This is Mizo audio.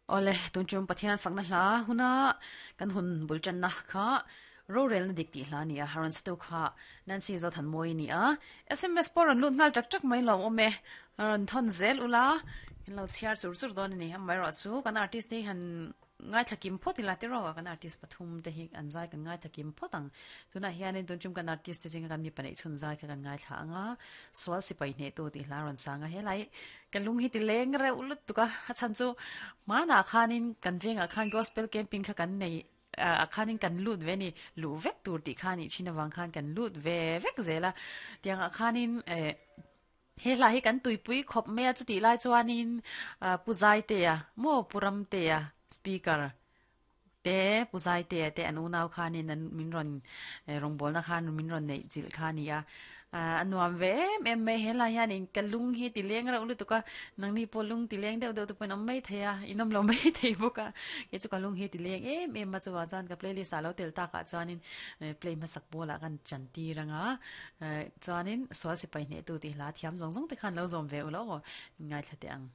Awle, tun tum Pathian fakna hla huna kan hun bul tanna kha rorelna dik tih hla a ni a, rawn satu kha Nancy Zothanmawii a ni a, sms pawh rawn lut nghal tak tak mai lo awm e, rawn thawn zel ula, in lo chhiar chur chur dawn a ni, amaherawh chu kan artist te hi han Ngaithla kim phawt ila tiraw kan artist pathum te hi an zai kan ngaithla kim phawt ang. Tunah hianin tun tum kan artist te zinga kan mipa neih chhun zai kha kan ngaithla ang a, sual sipai hnehtu tih hla a rawn sang a, helai ka lung hi ti leng reuh lutuk a, a chhan chu hmanah khanin kan vengah khan gospel camping kha kan nei ah khanin kan lut ve a ni, luh vek tur tih kha a nih thin avang khan kan lut ve vek zel a, tiangah khanin eh. He hla hi kan tuipui khawp mai a, chutih lai chuanin Pu Zaitea maw Pu Ramtea speaker te Pu Zaitea te an unau khanin an min rawn rawngbawlna khan min rawn neih chilh kha a ni a, a nuam ve em em mai he lai hianin ka lung hi ti leng reuh lutuk a, nangni pawh lung ti leng deuh deuh te pawh in awm mai thei a, in awm lo mai thei bawk a, kei chu ka lung hi ti leng em em a chuvang chuan ka playlist ah lo tel takah chuanin play hmasak pawlah kan chan tir ang a. Chuanin sual sipai hnehtu tih hla thiam zawng zawng te khan lo zawm ve u lo aw, in ngaithla teh ang.